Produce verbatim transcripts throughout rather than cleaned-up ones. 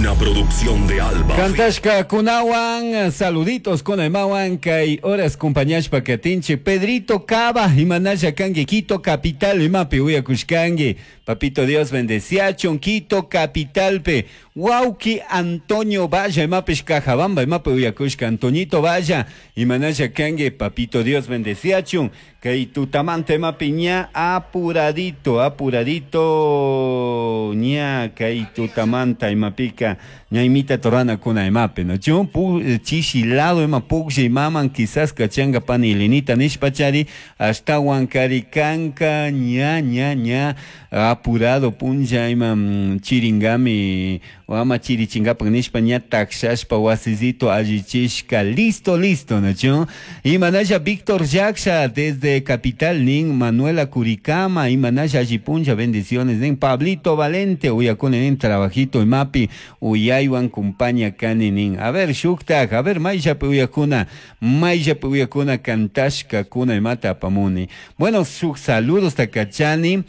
Una producción de Alba. Cantashka kunawan, saluditos kunaymawan, kay horas compañashpa katinchi Pedrito Cava, imanalla kanki, Quito Capital, imapi uyakushkanki. Papito Dios bendeciachun, Quito Capitalpe. Wauki Antonio Valla, imapish Cajabamba, imapi uyakushka Antoñito Valla, imanalla kanki, Papito Dios bendeciachun. Kay tutamanta imapi ña apuradito, apuradito, ña kay tutamanta imapika, ñaymita torana kuna imapi, no? Chun pu chishi lado ima puklla imaman quizás kachanga pani Elenita nishpachari, ashtawan kari kanka ña ña ña apurado punlla ima mm, chiringami ama chirichingapak nishpa ña takshashpa wasisito allichishka listo listo, no? Chun imanalla Víctor Yaksha desde Capital nin Manuela Curicama, imanalla allipunlla, bendiciones nin Pablito Valente, uyakuni nin trabajito imapi uyaywan kumpaña kani nin. A ver shuktak, a ver mayllapi uyakuna, mayllapi uyakuna kantashka kuna imata apamuni. Bueno, shuk saludos takachani.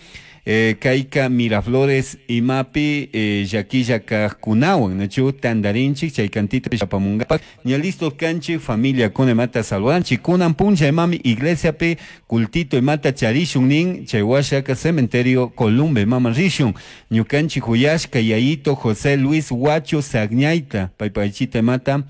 Eh, kayka Miraflores imapi eh, llaquilla kajkunawan, nachu tandarinchik chay cantito apamungapak ña listo kanchik familia kuna imata saludanchik kunan punlla imami iglesiapi cultito imata charishun nin chay washaka cementerio Columbe mama rishun ñukanchik huyashka yayito José Luis Huacho Sagñayta paypaychita imata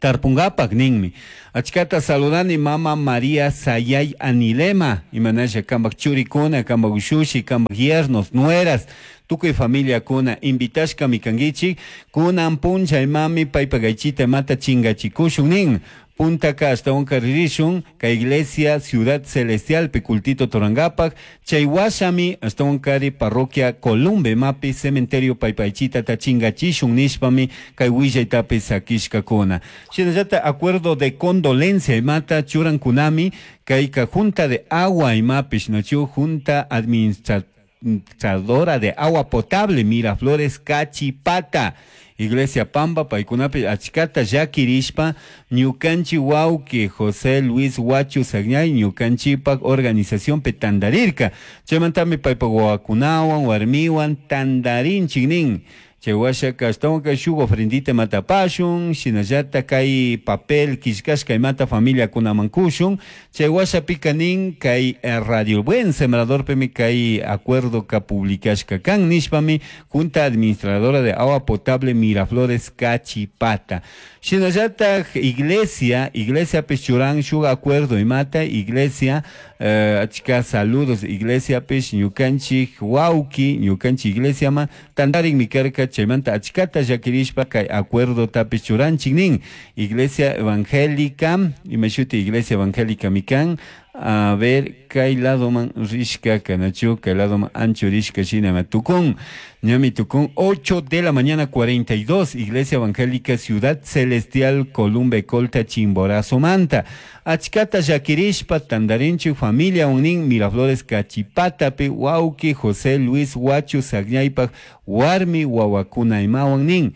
tarpungapak ninmi. Achkata saludani mama María Sayay Anilema, imanalla kambak churikuna, kambak ushushi, kambak yernos, nueras, tukuy familia kuna invitashkami kankichik, kunan punlla imami paypak aychita imata chingachikushun nin. Puntaka ashtawanka ririshun kay iglesia Ciudad Celestial cultito torangapak chay washami ashtawankari parroquia Columbe mapi cementerio paypaychita tachingachishun nishpami kay willaytapi sakishkakuna. Shinallata acuerdo de condolencia imata churankunami kayka junta de agua imapish nachu junta administradora de agua potable Miraflores Cachipata Iglesia Pamba paykunapi achkata llakirishpa ñukanchik wawki José Luis Huacho Sagñay ñukanchikpak organización tandarirka chaymantami paypak wawakunawan warmiwan tandarinchik nin. Chay washaka ashtawanka shuk ofrendita matapashun shinallata kay papel killkashka imata familiakunaman kushun chay washapika nin kay Radio Buen Sembradorpimi kay acuerdo ka publicashka kan nishpami Junta Administradora de Agua Potable Miraflores Cachipata. Shinallata iglesia, iglesia churan shuk acuerdo imata iglesia eh, achka saludos iglesia pish ñukanchik wawki ñukanchik iglesia ma tandarin karka chaymanta achkata llakirishpa kay acuerdo tapish churanchik nin iglesia evangélica imashuti iglesia evangélica mikan. A ver kay ladoman rishka kanachu kay ladoman ancho rishka shina tukun ñami tukun ocho de la mañana cuarenta y dos Iglesia Evangélica Ciudad Celestial Columbe Colta Chimborazo Manta achkata llakirishpa tandarinchik familia unin Miraflores Cachipatapi wawki José Luis Huacho Sagñaypak warmi wawakuna imawan nin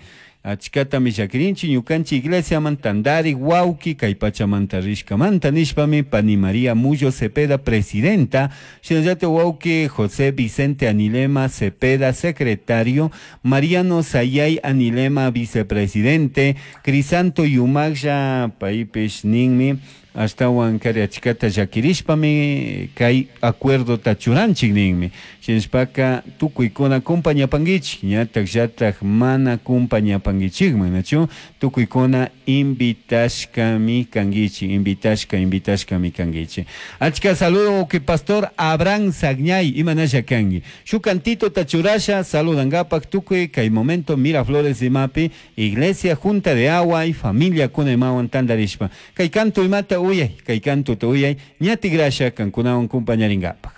achkatami llakirinchik ñukanchik iglesiaman tandari wawki kay pachamanta rishkamanta nishpami pani María Mullo Cepeda presidenta shinallata wawki José Vicente Anilema Cepeda secretario Mariano Sayay Anilema vicepresidente Crisanto Yumaglla paypish ninmi ashtawan kari achkata llakirishpami kay acuerdo churanchik ninmi shinashpaka tukuykuna kumpañapankichik ñatak llatak mana kumpañapankichikman nachu tukuykuna invitashkami kankichik invitashka invitashkami kankichik. Achka saludo que pastor Abraham Sagñay imanalla kanki shuk cantito tachurasha saludangapak tukuy kay momento Miraflores imapi iglesia junta de agua y familia kuna imawan tandarishpa kay canto imata uyay kay canto ta uyay ñati grasha kankunawan kumpañaringapak.